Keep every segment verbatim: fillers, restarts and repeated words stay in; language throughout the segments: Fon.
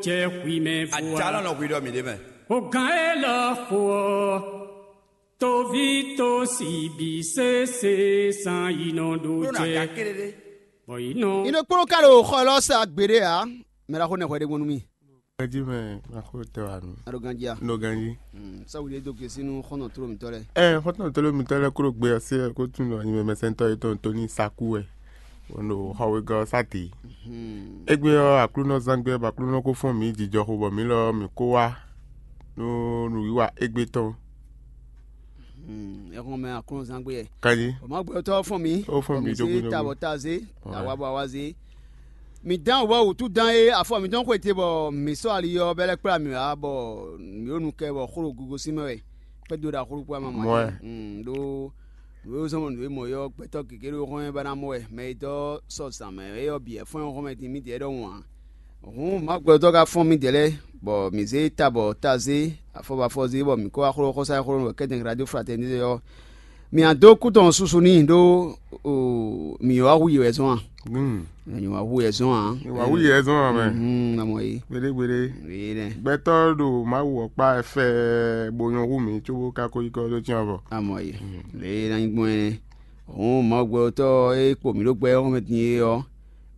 Jɛ hwi mɛ vua. Atalɔ nɔ hwi ɖɔ mǐ ɖe mɛ. O gǎn élɔ́ xo ɔ́, toví tó si bǐ sésé san yi nɔ ɖo Ɖó nɔ jɛ. Aga kéré ɖé. Bɔ yi nɔ. Ino kplɔ́n ka ɖo xɔ élɔ́ sa gbeɖé ǎ. Mɛ ɖaxó nɛxɔ ɖé gbɔn nú mì. Ganjí mɛ, ma xó tɛ wá mi. A ɖo ganjí a? N ɖo ganjí. Sáwuli e dó gěsí nú xɔ́ntɔn tlóló mǐtɔn lɛ́ɛ. Ɛ xɔ́ntɔn tlóló mǐtɔn lɛ́ɛ kúrò gbe ɔ́ sí wɛ kó tunwun ɖɔ nyimɛmɛsɛntɔ́ yětɔn Tóní Sakú wɛ. Bɔ ɖo xɔ wegɔ́ ɔ́ sá dě. Égbé ɔ́, Aklúnɔ zán gbé bɔ Aklúnɔ kó fɔ́n mǐ jijɔxo bɔ mǐ lɔ mǐ kó wá nú nǔwiwa égbé tɔn. Ɛhɔn mɛ Aklúnɔ zán gbé yɛ. Kanyi. O ma gbɛtɔ́ fɔ́n mǐ. Ó fɔ́n mǐ dó gúdo. Tabɔ ta zé, awa bɔ awa zé. Mǐ dán wǔvɔ́ wǔtú dán é, afɔ mǐtɔn xwete bɔ mǐ sɔ́ ali ɔ́ bɛ́ lɛ́ kplá mǐ wá, bɔ mǐ ɖo nu kɛ bɔ xó ɖo gogosín mɛ wɛ. Kpɛ́ dó ɖo axɔ́ ɖokpó ama mɔ Mɔɛ. Ɖó nǔ e zɔ́n nǔ e mɔ ɔ́, gbɛtɔ́ gěgé ɖo xɔ́mɛ ba ná mɔ wɛ, mɛ e dɔ́ sɔ zǎn mɛ é ɔ́ bǐ wɛ fɔ́n xɔ́mɛ din mǐdɛɛ ɖɔhun ǎ. Hǔn Mawu gbɛtɔ́ ka fɔ́n mǐdɛɛ lɛ́ɛ, bɔ mǐ zé ta bɔ ta zé, afɔ bɔ afɔ zé, bɔ mǐ kó wá xló xɔ́sá e xló nú wɛ kɛ́tɛn Gladioflatɛn ɖe ɔ́, mǐ nǎ dó kú tɔn susu n'i ɖó mǐ wá hu yě wɛ zɔ́n a? Mǐ wá hu yě zɔ́n a? Mǐ wá hu yě zɔ́n a mɛ. Amɔ yě. Gbeɖé gbeɖé. Yě nɛ. Gbɛtɔ́ ɖo Mawu ɔ́ kpá fɛ bó nyɔ́ hu mǐ cóbó ka ko yi kɔ dó cyɔ́n avɔ. Amɔ yě. Lě e ná nyí gbɔn é nɛ́. Hǔn Mawu gbɛtɔ́ e kpo mǐ ɖó gbɛ ɔ́ mɛ din é ɔ́,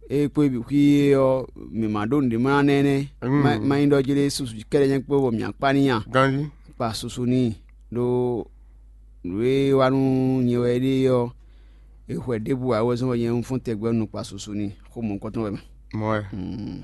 é kpó é bǐ xwí é ɔ́, mǐ ma ɖó nǔɖé mlá ná énɛ́. Mm. Má nyí ɖɔ jí ɖé susu kɛ́ɖɛ́ nyɛ́ kpó bɔ mǐ akpá n'i a? Ganjí. Kpa susu n'i ɖó nǔ e wá nú nyɛ wɛ é ɖe ɔ́, è xwɛ ɖěbǔ ǎ wɛ zɔ́n bɔ nyɛ un fɔ́n tɛgbɛ nú kpa susu n'i xó mɔ̌hunkɔtɔn wɛ mɛ. Mɔ̌ wɛ. Mm.